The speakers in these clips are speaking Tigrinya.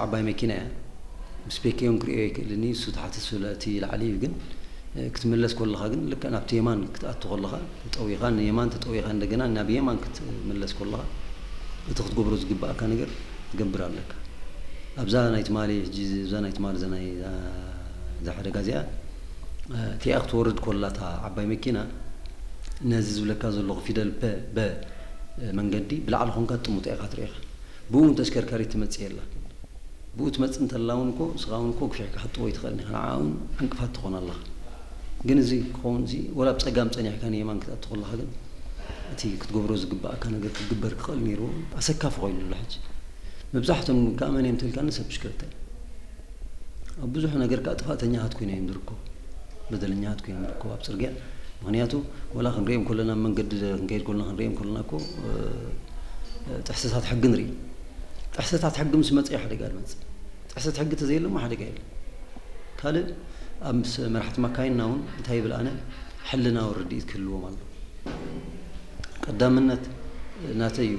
ዓባይ መኪና እያ። ብስፔክ እውን ክርእዮ ይክእልኒ፣ እሱ ትሓት ስለቲ ላዕሊ እዩ። ግን ክትምለስ ከለኻ ግን ልክዕ ናብቲ የማን ክትኣቱ ከለኻ ጠዊኻ ንየማን ተጠዊኻ እንደገና ናብ የማን ክትምለስ ከለኻ እቲ ክትገብሮ ዝግባእካ ነገር ትገብር ኣለካ። ኣብዛ ናይ ትማሊ ሕጂ እዛ ናይ ትማሊ እዛ ናይ እዛ ሓደጋ እዚኣ እቲኣ ክትወርድ ከላ እታ ዓባይ መኪና ነዚ ዝብለካ ዘለኹ ፊደል ፐ በ መንገዲ ብላዕሊ ኮንካ ጥሙጣ ኢኻ ትርእኻ። ብኡ ተሽከርካሪት ትመጽእ የላ። ብኡ ትመጽእ እንተላ እውን እኮ ንስኻ እውን እኮ ግፊሕካ ክትጥዎ ይትኽእል ኢኻ። ንዓ እውን ዕንቅፋት ትኾን ኣለኻ። ግን እዚ ክኸውን እዚ ወላ ብጸጋም ጸኒሕካ ንየማን ክትኣቱ ከለኻ ግን እቲ ክትገብሮ ዝግባእካ ነገር ክትግበር ክኽእል ነይርዎ። ኣሰካፊ ኮይኑ ኣሎ ሕጂ። መብዛሕቶም ከዓ መን እዮም ተልካኒ ሰብ ብሽክለታ እዩ። ኣብ ብዙሕ ነገር ከዓ ጥፋእተኛታት ኮይኖም እዮም ዝርከቡ። በደለኛታት ኮይኖም ዝርከቡ ኣብ ጽርግያ። ምኽንያቱ ወላ ክንሪኦም ከለና ኣብ መንገዲ ክንከይድ ከለና ክንሪኦም ከለና እኮ ጥሕሰታት ሕጊ ንርኢ። ጥሕሰታት ሕጊ ምስ መፀ ሓደጋ ዝመፅእ። ጥሕሰት ሕጊ ተዘየለሞ ሓደጋ የለን። ካልእ ኣብ ምስ መራሕቲ ማካይንና እውን እንታይ ይብል ኣነ ሕልናዊ ርድኢት ክህልዎም ኣሎ። ቀዳምነት ናተይ እዩ።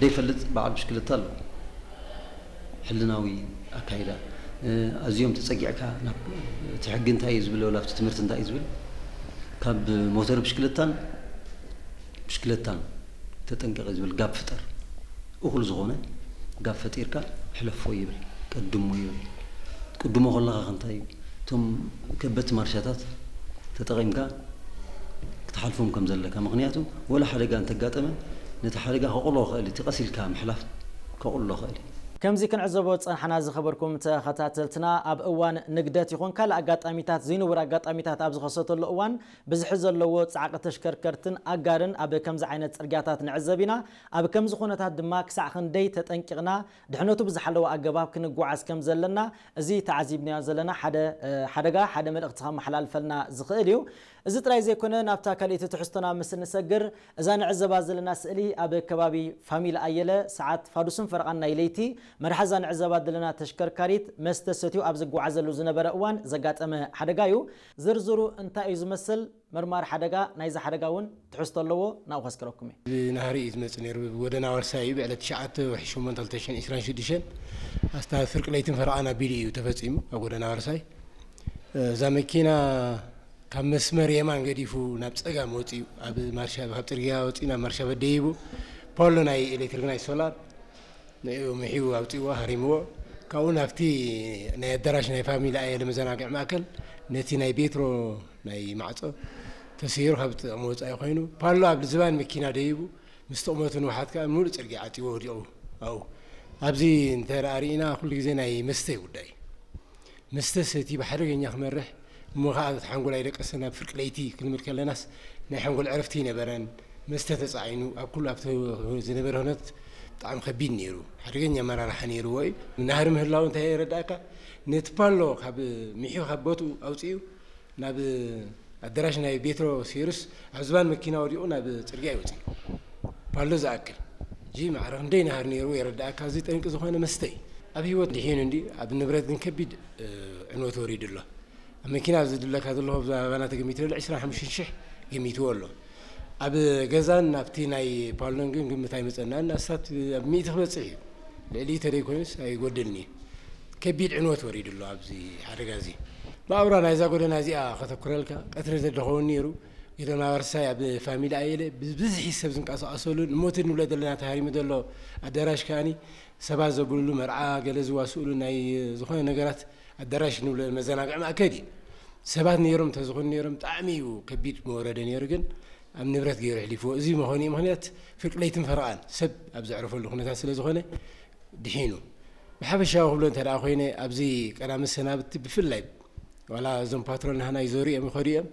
ደይፈልጥ በዓል ብሽክለታ ኣሎ። ሕልናዊ ኣካይዳ ኣዝዮም ተጸጊዕካ ናብ እቲ ሕጊ እንታይ እዩ ዝብል ወላ ኣብቲ ትምህርቲ እንታይ እዩ ዝብል ካብ ሞተር ብሽክለታን ብሽክለታን ተጠንቀቂ ዝብል ጋብ ፍጠር። እኹል ዝኾነ ጋብ ፈጢርካ ሕለፎ ይብል፣ ቀድሞ ይብል። ትቅድሞ ከለኻ ከ እንታይ እዩ? እቶም ከበድቲ ማርሻታት ተጠቒምካ ክትሓልፎም ከም ዘለካ። ምኽንያቱ ወላ ሓደጋ እንተጋጠመ ነቲ ሓደጋ ከቑሎ ይኽእል እዩ። እቲ ቀስ ኢልካ ምሕላፍ ከቑሎ ይኽእል እዩ። ከምዚ ክንዕዘቦ ዝጸናሕና ዝኸበርኩም ተኸታተልትና፣ ኣብ እዋን ንግደት ይኹን ካልእ ኣጋጣሚታት፣ ዘይንቡር ኣጋጣሚታት ኣብ ዝኸሰተሉ እዋን ብዝሒ ዘለዎ ጻዕቂ ተሽከርከርትን ኣጋርን ኣብ ከምዚ ዓይነት ጽርግያታት ንዕዘብ ኢና። ኣብ ከምዚ ኩነታት ድማ ክሳዕ ክንደይ ተጠንቂቕና ድሕነቱ ብዝሓለወ ኣገባብ ክንጓዓዝ ከም ዘለና፣ እዚ ተዓዚብናዮ ዘለና ሓደ፣ እ፣ ሓደጋ ሓደ መልእኽቲ ከመሓላልፈልና ዝኽእል እዩ። እዚ ጥራይ ዘይኮነ፣ ናብታ ካልኣይቲ ትሕዝቶና ምስ እንሰግር፣ እዛ ንዕዘባ ዘለና ስእሊ ኣብ ከባቢ ፋሚሊ ኣየለ ሰዓት ፋዱስን ፈረቓን ናይ ለይቲ መርሓ እዛ ንዕዘባ ዘለና ተሽከርካሪት መስተ ሰትዩ ኣብ ዝጓዓዘሉ ዝነበረ እዋን ዘጋጠመ ሓደጋ እዩ። ዝርዝሩ እንታይ እዩ ዝመስል? መርማሪ ሓደጋ ናይዚ ሓደጋ እውን ትሕዝቶ ኣለዎ፣ ናብኡ ከስክረኩም እየ። ብናህሪ እዩ ዝመጽእ ነይሩ። ብጎደና ዋርሳይ እዩ። ብዕለት ትሽዓተ ወርሒ ሸሞንተ ክልተ ሽሕን ዕስራን ሽዱሽተን ኣስታት ፍርቂ ለይትን ፈረቓን ኣቢሉ እዩ ተፈጺሙ ኣብ ጎደና ዋርሳይ። እዛ መኪና ካብ መስመር የማን ገዲፉ ናብ ጸጋም ወጺኡ፣ ኣብ ማርሻ፣ ካብ ጽርግያ ወጺኡ ናብ ማርሻ በደይቡ ፖሎ ናይ ኤሌክትሪክ ናይ ሶላር ንኡ ምሒቡ ኣውጺእዎ፣ ሃሪምዎ። ካብኡ ናብቲ ናይ ኣዳራሽ ናይ ፋሚሊ ኣየለ መዘናግዒ ማእከል ነቲ ናይ ቤትሮ ናይ ማዕጾ ተሰይሩ ካብ ጥቕሚ ወጻኢ ኮይኑ፣ ፓሎ ኣብ ዝባን መኪና ደይቡ፣ ምስ ጥቕመቱ ንውሓት ከኣ ምሉእ ጽርግያ ዓጺዎ ወዲቑ ኣብኡ። ኣብዚ እንተ ደኣ ርኢና፣ ኩሉ ግዜ ናይ መስተ ጉዳይ። መስተ ሰቲ ብሓደገኛ ክመርሕ፣ እሞ ኸኣ እቲ ሓንጎል ኣይደቀሰን። ኣብ ፍርቂ ለይቲ ክንብል ከለናስ ናይ ሓንጎል ዕረፍቲ ኣይነበረን። መስተ ተጻዒኑ፣ ኣብ ኩሉ ኣብቲ ዝነበረ ኩነት ብጣዕሚ ከቢድ ነይሩ። ሓደገኛ ኣመራርሓ ነይርዎ እዩ። ናህሪ ምህላው እንታይ የረድኣካ? ነቲ ፓሎ ካብ፣ ምሒኡ ካብ ቦትኡ ኣውጺኡ ናብ ኣዳራሽ ናይ ቤትሮ ሴሩስ ኣብ ዝባን መኪና ወዲቑ ናብ ጽርግያ ይወጽእ። ፓሎ ዝኣክል። እዚ ማዕረ ክንደይ ናህሪ ነይርዎ የረድኣካ። እዚ ጠንቂ ዝኾነ መስተ እዩ። ኣብ ህይወት ድሒኑ እንዲ፣ ኣብ ንብረት ግን ከቢድ፣ እ፣ ዕንወት ወሪዱ ኣሎ። ኣብ መኪና ኣብዚ ዝድለካ ዘለኹ፣ ኣብዚ ኣባና ተገሚቱ ዘሎ ዕስራን ሓሙሽተን ሽሕ ገሚትዎ ኣሎ። ኣብ ገዛን ኣብቲ ናይ ፓሎን ግን ግምት ኣይመጸናን። ኣስታት ኣብ ሚእቲ ክበጽሕ እዩ። ልዕሊ ተደይ ኮይኑስ ኣይጎድልን እዩ። ከቢድ ዕንወት ወሪዱ ኣሎ ኣብዚ ሓደጋ እዚ። ብኣውራ ናይዛ ጎደና እዚኣ ከተኩረልካ፣ ቀትሪ ተደኸውን ነይሩ። ጎደና ዋርሳይ ኣብ ፋሚሊ ኣየለ ብብዝሒ ሰብ ዝንቀሳቐሰሉን፣ እሞቲ ንብሎ ዘለና ተሃሪሙ ዘሎ ኣዳራሽ ከኣኒ ሰባት ዘብሉሉ፣ መርዓ ገለ ዝዋስኡሉ፣ ናይ ዝኾነ ነገራት ኣዳራሽ ንብሎ መዘናግዒ ማእከል እዩ። ሰባት ነይሮም፣ እንተዝኾኑ ነይሮም፣ ብጣዕሚ እዩ ከቢድ መወረደ ነይሩ፣ ግን ኣብ ንብረት ገይሩ ኣሕሊፍዎ። እዚ መኾኒ ምኽንያት ፍርቂ ለይትን ፈረቓን ሰብ ኣብ ዘዕረፈሉ ኩነታት ስለ ዝኾነ ድሒኑ። ብሓፈሻዊ ክብሎ እንተ ደኣ ኮይነ፣ ኣብዚ ቀዳመ ሰናብቲ ብፍላይ ዋላ እዞም ፓትሮል ናህና ይዞሩ እዮም፣ ይኸዱ እዮም፣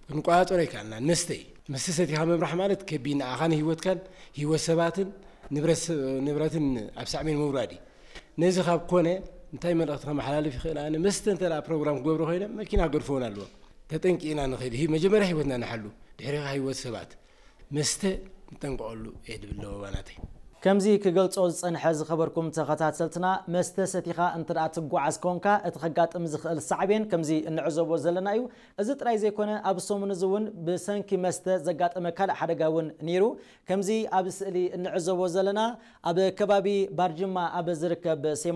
ክንቆጻጸሮ ኣይከኣልናን። መስተ እዩ። መስተ ሰቲኻ ምምራሕ ማለት ከቢድ፣ ንዓኻን ህይወትካን ህይወት ሰባትን ንብረት ስ-፣ ንብረትን ኣብ ሳዕቤን ምውራድ እዩ። ነዚ ካብ ኮነ እንታይ መልእኽቲ ከመሓላልፍ ይኽእል? ኣነ መስተ እንተ ደኣ ፕሮግራም ክገብሩ ኮይኖም መኪና ክገድፍዎን ኣለዎም። ተጠንቂቕና ንኽእል። ህይ-፣ መጀመርያ ህይወትና ንሓሉ፣ ድሕሪኻ ህይወት ሰባት። መስተ ንጠንቀቐሉ እየ ድብል ኣለዎ ባናተይ። ከምዚ ክገልጾ ዝጸንሐ ዝኸበርኩም ተኸታተልትና፣ መስተ ሰቲኻ እንተ ደኣ ትጓዓዝ ኮንካ፣ እቲ ከጋጥም ዝኽእል ሳዕቤን ከምዚ እንዕዘቦ ዘለና እዩ። እዚ ጥራይ ዘይኮነ፣ ኣብ ሰሙን እዚ እውን ብሰንኪ መስተ ዘጋጠመ ካልእ ሓደጋ እውን ነይሩ። ከምዚ ኣብ ስእሊ እንዕዘቦ ዘለና፣ ኣብ ከባቢ ባርጅማ ኣብ ዝርከብ ሴማ